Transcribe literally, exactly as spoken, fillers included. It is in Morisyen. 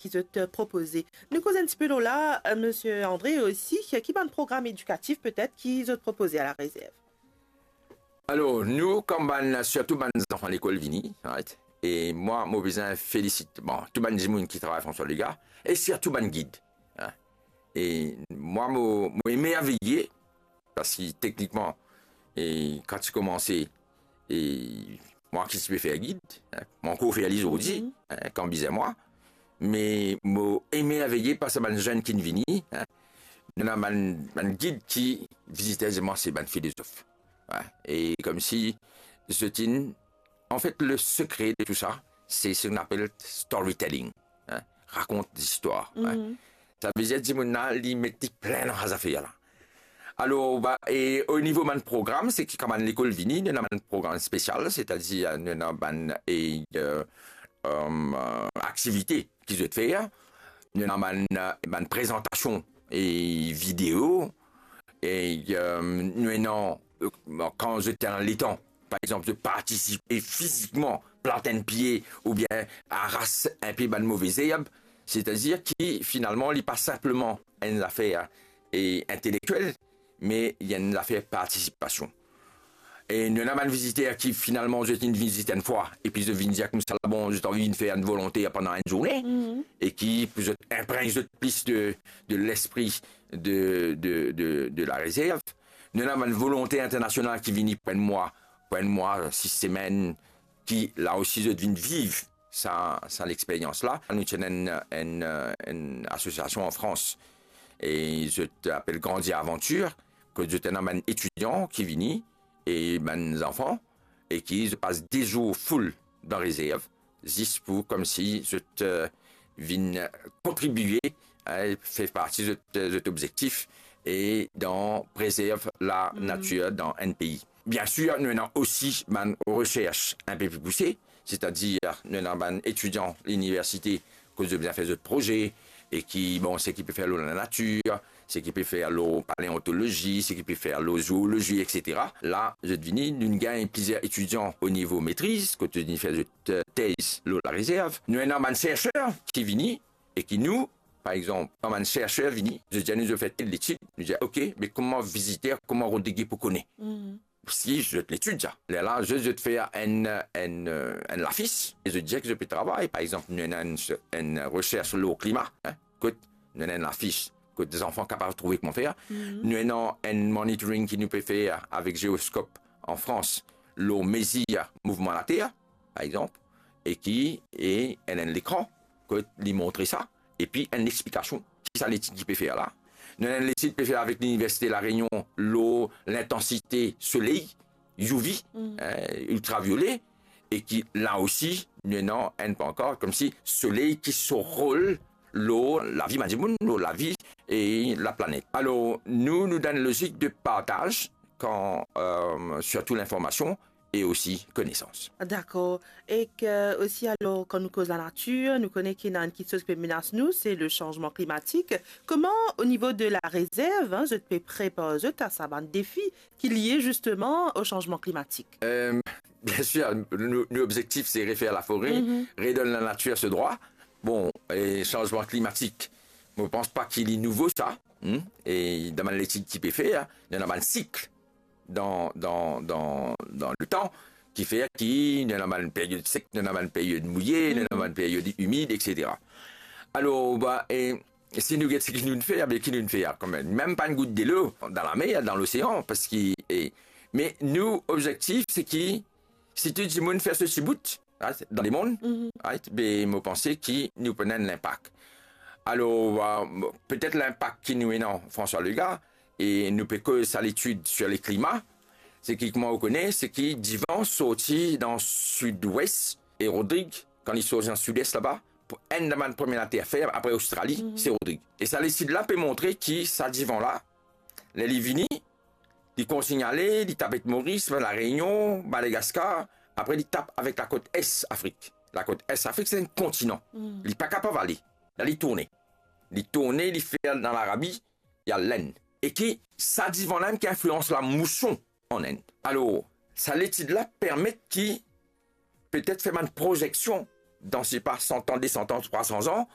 ki zot, eh, propoze. Nou koz enn tipe lor la, eh, Misie Andre osi, ki, ki bann program edikatif petet ki zot propoze a La Réserve? Alor, nou, kom bann, sirtou bann zanfan lekol vini, right? E mwa, mo bizin felisit, bon, tou bann dimoun ki travay François Legaye, e sirtou bann gid, hein? E mwa, mo, mo emerveye, parski teknikman, e kan ti koumanse, e mwa ki ti pe fer gid, hein, mo ankor fer li zordi, hein, kan bizin mwa. Me mo emerveye par sa bann zenn ki vini, hein. Nou ena bann, bann gid ki vizite, zis mwa se bann filozof. Hein. E komsi zot inn, anfet, le sekre de tou sa, se seki nou apel storytelling, hein, rakont zistwar, hein. Sa vedir dimoun la, li met li plin dan sa zafer la. Alor, ba, e o nivo bann program, seki kan bann lekol vini, nou ena bann program spesial, setadir nou ena bann, e, eh, eh, aktivite ki zot fer, nou ena bann, eh, bann prezantasion e video, e, eh, nou ena, eh, kan zot ena letan, par exanp, zot partisipe fizikman, plant enn pie oubien aras enn pe bann move zerb, setadir ki finalman li pa sinpleman enn zafer, e, intelektiel, me li enn zafer partisipasion. E nou ena bann viziter ki finalman zot inn vizit enn fwa, epi zot vinn dir koumsa, bon, zot anvi vinn fer enn volonter pandan enn zourne, e ki pou zot inpregn zot plis de, de lespri de, de, de, de La Réserve. Nou ena bann volonter internasional ki vini pou enn mwa, pou enn mwa, sis semenn, ki la osi zot vinn viv sa, sa lexperyans la. Nou ti ena enn, enn, enn asosiasion an Frans, e zot apel Grandi Avantir, kot zot ena bann etidian ki vini, e bann zanfan, e ki zot pas de zour full dan rezerv, zis pou komsi zot, eh, vinn kontribie, eh, fer parti zot, zot obzektif, e dan prezerv lanatir dan enn pei. Biensir, nou ena osi bann resers enn pe pli pouse, setadir nou ena bann etidian liniversite kot zot bizin fer zot proze, e ki, bon, seki pe fer lor lanatir, seki pe fer lor paleontolozi, seki pe fer lor zoolozi, etsetera. La, zot vini, nou gagn plizier etidian o nivo metriz, kot zot vinn fer zot, eh, tez lor La Réserve. Nou ena bann serser ki vini, e ki nou, par exanp, kan bann serser vini, zot dir nou zot fer tel letid, nou dir, "Ok, me kouma viziter, kouma Rodrig pou kone?" Si zot letid sa. Lerla, zot, zot fer enn, enn, eh, enn lafis, e zot dir ki zot pe travay. Par exanp, nou ena enn, enn resers lor klima, hein, kot nou ena enn lafis, kot zanfan kapav trouve kouma fer. Nou ena enn monitoring ki nou pe fer avek Geoscope an Frans, lor mezir mouvman later, par exanp, e ki, e enn, enn lekran, kot li montre sa, epi enn lexplikasion ki sa letid ki pe fer la. Nou ena enn letid pe fer avek Liniversite La Réunion lor lintansite soley, U V, hein, iltraviole, e ki la osi, nou ena enn pankart, komsi soley ki so rol lor lavi bann dimoun, lor lavi e laplanet. Alor, nou, nou dan enn lozik de partaz, kan, eh, sirtou linformasion, e osi konesans. Dakor. Ek osi, alor, kan nou koz lanatir, nou kone ki ena enn kiksoz ki pe menas nou, se le sanzman klimatik. Kouma, o nivo de La Réserve, hein, zot pe prepar zot a sa bann defi ki lie zisteman o sanzman klimatik? Eh, biensir, nou, nou obzektif, se refer lafore, redonn lanatir so drwa. Bon, e sanzman klimatik, mo pans pa ki li nouvo sa, hmm? E dan bann letid ki pe fer, nou ena bann sik dan, dan, dan, dan letan, ki fer ki nou ena bann period sek, nou ena bann period mouye, nou ena bann period imid, etsetera. Alor, ba, e si nou get seki nou fer, be ki nou fer kanmem? Mem pa enn gout delo dan lamer, dan losean, parski, e, me nou obzektif, se ki, si tou dimoun fer so ti bout, right, dan lemond, right, be mo panse ki nou pou ena enn linpak. Alor, eh, petet linpak ki nou ena, François Legaye, e nou pe koz sa letid sir le klima, se ki, kouma ou kone, se ki divan sorti dan sidwes, e Rodrig, kan li sorti dan sides laba, pou enn dan bann premie later fer, apre Ostrali, se Rodrig. E sa letid la pe montre ki sa divan la, ler li vini, li kontign ale, li tap Moris, La Reunion, Madagaskar, apre li tap avek lakot es Afrik. Lakot es Afrik, se enn kontinan. Li pa kapav ale. La, li tourne. Li tourne, li fer dan Larabi, li al Lenn. E ki sa divan la mem ki inflians lamouson an Lenn. Alor, sa letid la permet ki petet fer bann prozeksion dan, se pa, san an, de san an, trwa san an,